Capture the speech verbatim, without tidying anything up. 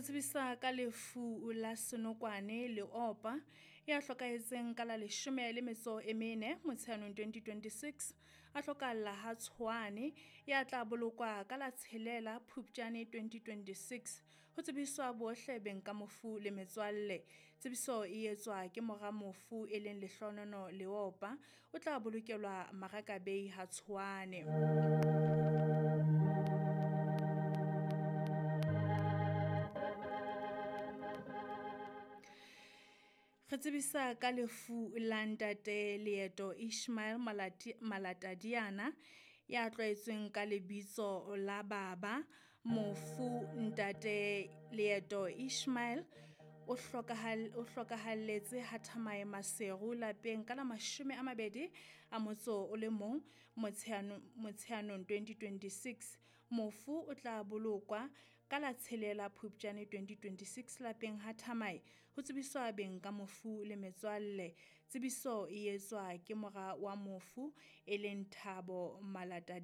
Re tsebisa ka lefu la Senokwane Leopa ya hlokahetseng ka la leshome le metso e mene Motsheanong twenty twenty-six, a hlokahalla ha Tshwane, ya tla bolokwa ka la tshelela Phupjane twenty twenty-six. Ho tsebiswa bohle beng ka mofu le metswalle. Tsebiso e etswa ke mora mofu e leng Lehlonono Leopa. O tla bolokelwa Marakabei ha Tshwane. Re tsebisa ka lefu la ntate Leeto Ishmael Malati, Malatadiana ya tlwaetsweng ka lebitso la Baba. Mofu ntate Leeto Ishmael o hlokahal o hlokahalletse ha Thamae Maseru lapeng ka la mashome a mabedi a motso o le mong Motsheanong Motsheanong twenty twenty-six. Mofu o tla bolokwa ka la tshelela Phupjane twenty twenty-six lapeng ha Thamae. Ho tsebiswa beng ka mofu le metswalle. Tsebiso e etswa ke mora wa mofu e leng Thabo Malatadi.